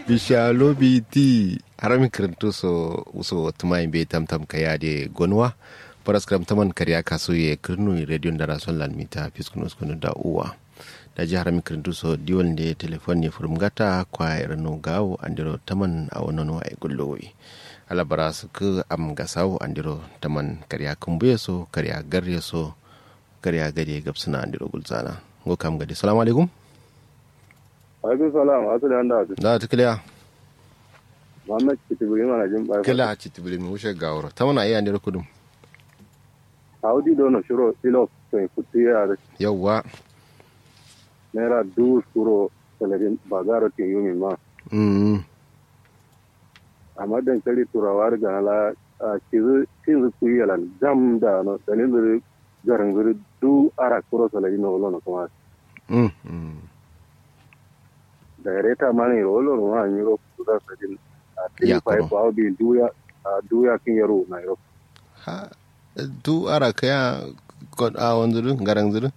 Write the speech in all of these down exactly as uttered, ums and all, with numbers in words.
Bisha lobi ti. Harami kǝrǝntu so uso tǝmayin be tamtam kaya de gonuwa. Faraskǝram taman kariya kasu ye kǝrnu rediyon darason lan mita fiskunu skunu da uwa. Daji harami kǝrǝntu so diwol nde telefon ne fǝrǝm gata kwaya irǝnu gawo andiro taman awo nono waye gullowi. Ala bara sǝkkǝ am gasawo andiro taman kariya kǝmbuye so kariya garye so kariya gade gabsǝna andiro gulzana. Ngo kam gade, salamu alaikum. Alaikum salam. Asali anda. Da tǝ kǝliya. Muhammad citibiri mana jin bai kǝla citibiri mi wushe gawuro tamana iya ndiro kudum. Audi dono shiro ilo. Sai kutu ya da. Yawwa. Naira dubu suro saladin bagaro tin yumi ma. Mm. Amma dankali turawa da ganala a cizu cinzu kuyi yalan gam da no dalin zuri garin zuri du ara kuro saladin no wolo no kuma. Mm. Mm. Da reta mani ro wolo no ma nyiro kuza sadin a tiri fai bawo bi duya. A duya kin yaro na yaro. Ha. Du ara kaya. Kod a wanzu du garang zu du.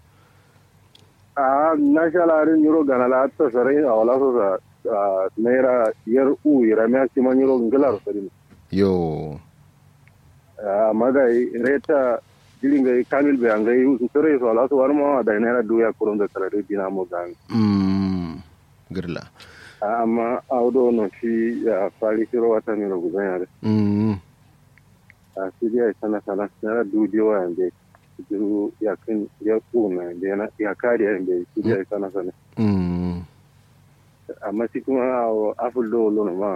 A na shala rin nyiro ganala ta sarai a wala so sa. A naira yar u iramiya shi ma nyiro ngila ro sarin. Yo. Amma da reta jiri ngai kamil be angai sarai so wala so wani ma da naira duya kurun da sarai dina mo gang. Mm. Girla. Amma audo no shi ya fari shiro wata miro guzan yare. Mm. A shi dai sana sana naira dubu biyu wa yande. Duru yakin ya kuna yande na ya kari yande shi dai sana sana. Mm. Amma shi kuma awo aful do lono ma.